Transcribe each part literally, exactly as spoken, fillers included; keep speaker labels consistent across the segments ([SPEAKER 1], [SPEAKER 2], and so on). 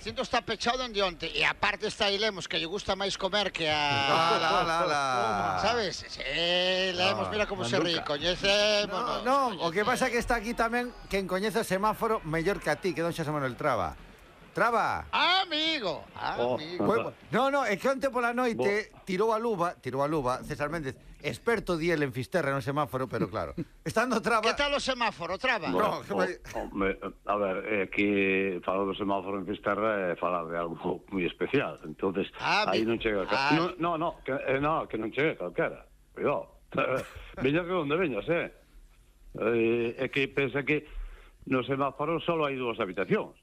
[SPEAKER 1] Cinto está pechado dende onte e aparte está aí Lemos que lle gusta máis comer que a...
[SPEAKER 2] Ala, ala, ala.
[SPEAKER 1] Sabes? Sí, Lemos,
[SPEAKER 2] No,
[SPEAKER 1] mira como se ríe,
[SPEAKER 2] manduca.
[SPEAKER 1] coñecémonos.
[SPEAKER 2] No, no, o que pasa é que está aquí tamén quen coñece o semáforo mellor que a ti, que don Xosé Manuel Traba. Traba.
[SPEAKER 1] Amigo, amigo.
[SPEAKER 2] Pues, no, no, é que onte pola noite tirou a luva, tirou a luva, César Méndez, experto diel en Fisterra no semáforo, pero claro, estando Traba...
[SPEAKER 1] Que tal o semáforo, Traba?
[SPEAKER 2] No,
[SPEAKER 3] Bueno, o, o, me, a ver, é que falar do semáforo en Fisterra é falar de algo moi especial, entonces
[SPEAKER 1] Ah,
[SPEAKER 3] aí
[SPEAKER 1] mi-
[SPEAKER 3] non chega
[SPEAKER 1] ah.
[SPEAKER 3] no, no, no, que, eh, no, que non chega calquera, cuidado. Veña que onde veñas, eh? eh é que pensa que no semáforo só hai dúas habitacións.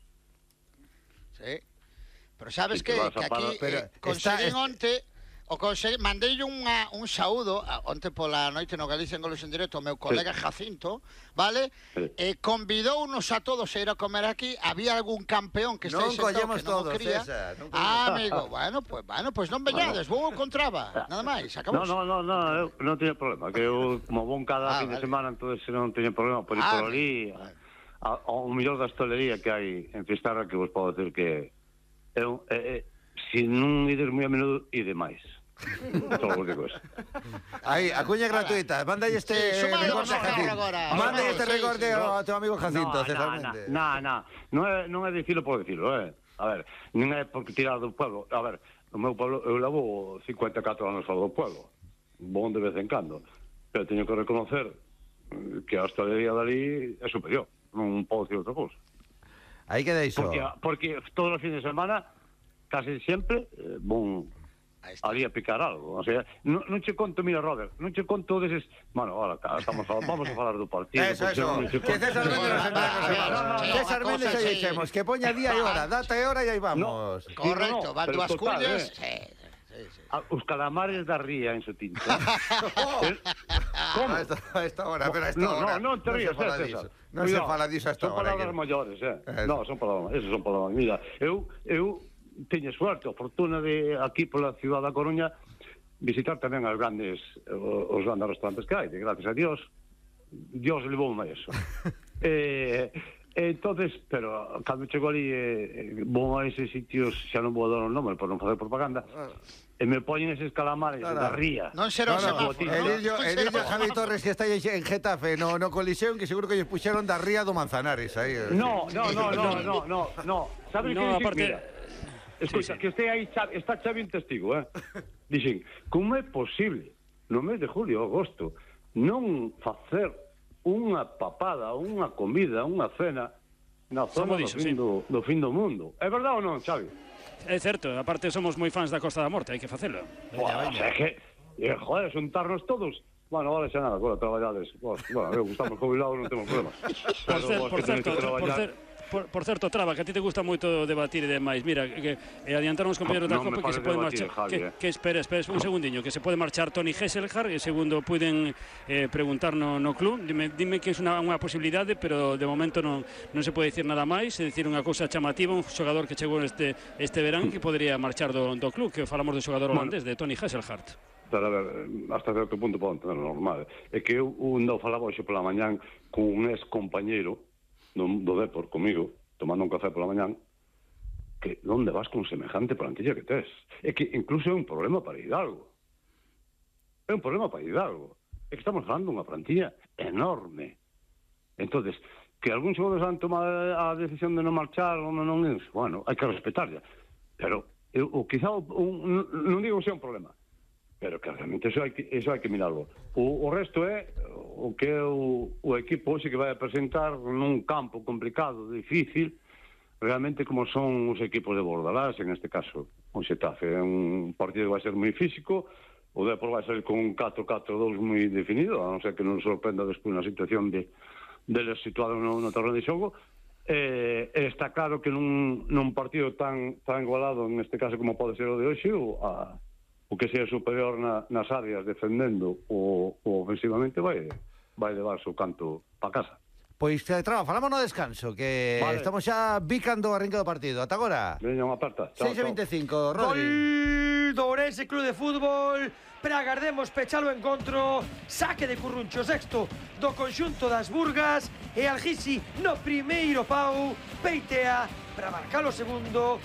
[SPEAKER 1] Sí. Pero sabes
[SPEAKER 3] Sí,
[SPEAKER 1] que,
[SPEAKER 3] que vas a
[SPEAKER 1] que aquí
[SPEAKER 3] parar,
[SPEAKER 2] pero
[SPEAKER 1] eh, conseguín
[SPEAKER 2] está-
[SPEAKER 1] onte o consegui, mandei unha, un saúdo a, onte pola noite no Galicia en Goles en Directo ao meu colega Jacinto, vale?
[SPEAKER 3] Sí.
[SPEAKER 1] E convidounos a todos a ir a comer aquí. Había algún campeón que está
[SPEAKER 2] Non
[SPEAKER 1] aí sentado
[SPEAKER 2] collemos
[SPEAKER 1] que non o
[SPEAKER 2] todos,
[SPEAKER 1] quería.
[SPEAKER 2] César, non collemos.
[SPEAKER 1] Ah, amigo, bueno, pues, bueno, pues non veñades, vou encontraba, nada máis, acabou.
[SPEAKER 3] No, no, no, no, eu non teño problema, que eu como bon cada
[SPEAKER 1] Ah,
[SPEAKER 3] fin de
[SPEAKER 1] vale.
[SPEAKER 3] semana, entonces non teño problema por ir
[SPEAKER 1] Ah,
[SPEAKER 3] por ali,
[SPEAKER 1] vale.
[SPEAKER 3] a, ao mellor da hostelería que hai en Fisterra, que vos podo decir que é un, é, é, se non ides moi a menudo, ide máis. Só vos digo eso.
[SPEAKER 2] Aí, a cuña gratuita, mándai este
[SPEAKER 1] Sí, suma
[SPEAKER 2] recorde a
[SPEAKER 1] dos
[SPEAKER 2] Jacinto.
[SPEAKER 1] agora.
[SPEAKER 2] Mándai
[SPEAKER 1] Sí,
[SPEAKER 2] este
[SPEAKER 1] sí,
[SPEAKER 2] recorde
[SPEAKER 1] sí,
[SPEAKER 2] ao teu amigo Jacinto,
[SPEAKER 3] No,
[SPEAKER 2] César
[SPEAKER 3] no,
[SPEAKER 2] Méndez.
[SPEAKER 3] no, no, non é, non é dicilo por dicilo, eh. A ver, non é porque tirar do pueblo. A ver, no meu pueblo, eu levo cincuenta e catro anos fora do pueblo. Bon de vez en cando. Pero teño que reconocer eh, que a hostelería dali é superior. Non podo dicir outra cousa.
[SPEAKER 2] Aí que deixo.
[SPEAKER 3] Porque, porque todos os fines de semana, casi sempre, eh, bon
[SPEAKER 1] Aí está.
[SPEAKER 3] ali a picar algo. O sea, non, non che conto, mira, Robert, non che conto deses... Bueno, ahora, estamos a, vamos a falar do partido.
[SPEAKER 2] Eso,
[SPEAKER 3] porque
[SPEAKER 2] eso.
[SPEAKER 3] non che
[SPEAKER 2] Que
[SPEAKER 3] conto.
[SPEAKER 2] César Méndez nos envía
[SPEAKER 1] Ah,
[SPEAKER 2] cosas.
[SPEAKER 1] no, no, no,
[SPEAKER 2] César
[SPEAKER 1] no,
[SPEAKER 2] Méndez
[SPEAKER 1] cosa
[SPEAKER 2] aí
[SPEAKER 1] así.
[SPEAKER 2] dixemos que poña día e hora, data e hora e aí vamos.
[SPEAKER 1] Correcto,
[SPEAKER 3] no,
[SPEAKER 1] van
[SPEAKER 3] pero
[SPEAKER 1] dúas
[SPEAKER 3] total,
[SPEAKER 1] cullas.
[SPEAKER 3] eh.
[SPEAKER 1] Sí, sí, sí.
[SPEAKER 3] A, os calamares da ría en su tinta.
[SPEAKER 2] Como? A esta, a esta hora, pero a esta
[SPEAKER 3] No,
[SPEAKER 2] hora.
[SPEAKER 3] no, non te rías,
[SPEAKER 2] se fala
[SPEAKER 3] eh,
[SPEAKER 2] diso.
[SPEAKER 3] César.
[SPEAKER 2] Non se
[SPEAKER 3] Cuidado,
[SPEAKER 2] fala diso a esta
[SPEAKER 3] son
[SPEAKER 2] hora.
[SPEAKER 3] palabras
[SPEAKER 2] que-
[SPEAKER 3] maiores, eh.
[SPEAKER 2] Eso.
[SPEAKER 3] No, son palabras, esas son palabras. Mira, eu, eu teño suerte, a fortuna de aquí pola ciudad da Coruña visitar tamén as grandes, os grandes restaurantes que hai, de gracias a Dios, Dios levoume a eso. eh, entonces, pero cando chego ali, eh, vou a eses sitios, xa non vou a dar o nome por non facer propaganda, e me poñen eses calamares
[SPEAKER 2] Claro.
[SPEAKER 3] da ría.
[SPEAKER 1] Non será
[SPEAKER 2] No,
[SPEAKER 1] o
[SPEAKER 2] no,
[SPEAKER 1] semáforo.
[SPEAKER 2] el
[SPEAKER 1] non?
[SPEAKER 2] Illo,
[SPEAKER 1] Non
[SPEAKER 2] el
[SPEAKER 1] será
[SPEAKER 2] Illo
[SPEAKER 1] o
[SPEAKER 2] Javi
[SPEAKER 1] semáforo.
[SPEAKER 2] Torres que está aí en Getafe, no, no colisión, que seguro que ellos puxeron da ría do Manzanares aí. eh.
[SPEAKER 3] No, no, no, no, no, no, no. ¿Sabes
[SPEAKER 4] No,
[SPEAKER 3] que dicen?
[SPEAKER 4] aparte-
[SPEAKER 3] Mira, escucha,
[SPEAKER 4] Sí, sí.
[SPEAKER 3] que este aí, Xavi- está Xavi un testigo, eh? Dicen, como é posible no mes de julio, agosto, non facer unha papada, unha comida, unha cena na zona do
[SPEAKER 4] dixo,
[SPEAKER 3] fin
[SPEAKER 4] sí.
[SPEAKER 3] do, do fin do mundo? É verdade ou non, Xavi?
[SPEAKER 4] É certo, aparte somos moi fans da Costa da Morte, hai que facelo.
[SPEAKER 3] Buah, o sea, que, eh, joder, xuntarnos todos. Bueno, ahora xa nada, agora traballades. Bueno, eu gustamos jubilados, non temos problemas.
[SPEAKER 4] Por, cer,
[SPEAKER 3] vos
[SPEAKER 4] por
[SPEAKER 3] que tenéis
[SPEAKER 4] certo,
[SPEAKER 3] que
[SPEAKER 4] por,
[SPEAKER 3] traballar-
[SPEAKER 4] cer, por, por certo, Traba, que a ti te gusta moito debatir e demais. Mira, que, que adiantaron os compañeros da
[SPEAKER 3] Non me
[SPEAKER 4] Copa que se
[SPEAKER 3] fales
[SPEAKER 4] pode
[SPEAKER 3] debatir,
[SPEAKER 4] marchar.
[SPEAKER 3] Javi,
[SPEAKER 4] que,
[SPEAKER 3] eh.
[SPEAKER 4] que espera, espera un segundiño, que se pode marchar Toni Hesselhard e segundo puiden eh, preguntar no, no club. Dime, dime que é unha, unha posibilidade, pero de momento non, non se pode dicir nada máis. É dicir, unha cousa chamativa, un xogador que chegou este, este verán que podría marchar do, do club, que falamos do xogador holandés, de Toni Hesselhard.
[SPEAKER 3] Pero, a ver, hasta certo punto podo entender normal. É que eu un dou falaba hoxe pola mañán con un ex compañeiro do, do Depor comigo, tomando un café pola mañán, que onde vas con semejante plantilla que tes? É que incluso é un problema para Hidalgo. É un problema para Hidalgo. É que estamos falando unha plantilla enorme. Entonces, que algún xogadores han tomado a decisión de non marchar ou non é, bueno, hai que respetarla. Pero, eu, o, quizá, o, un, non digo que sea un problema, pero que realmente eso hai que, eso hai que mirarlo. O, o resto é o que é o, o equipo hoxe que vai a presentar nun campo complicado, difícil, realmente como son os equipos de Bordalás, en este caso o Xetafe. É un partido que vai ser moi físico, o Depor vai ser con un catro catro dous moi definido, a non ser que non sorprenda despois na situación de deles situados no, no terreno de xogo. Eh, está claro que nun, nun partido tan, tan igualado, en este caso como pode ser o de hoxe, o, a, o que sea superior na, nas áreas defendendo ou, ou ofensivamente vai vai levar o seu canto para casa.
[SPEAKER 2] Pois, eh, Traba, falamos no descanso, que
[SPEAKER 3] Vale.
[SPEAKER 2] estamos xa bicando a arranque do partido. Ata agora.
[SPEAKER 3] Veña unha aperta. Chao,
[SPEAKER 2] seis e
[SPEAKER 3] chao.
[SPEAKER 2] vinte e cinco, Rodri.
[SPEAKER 5] Gol do Ourense Club de Fútbol para agardemos pechalo o encontro. Saque de Curruncho, sexto do conxunto das Burgas, e Algisi no primeiro pau peitea para marcar o segundo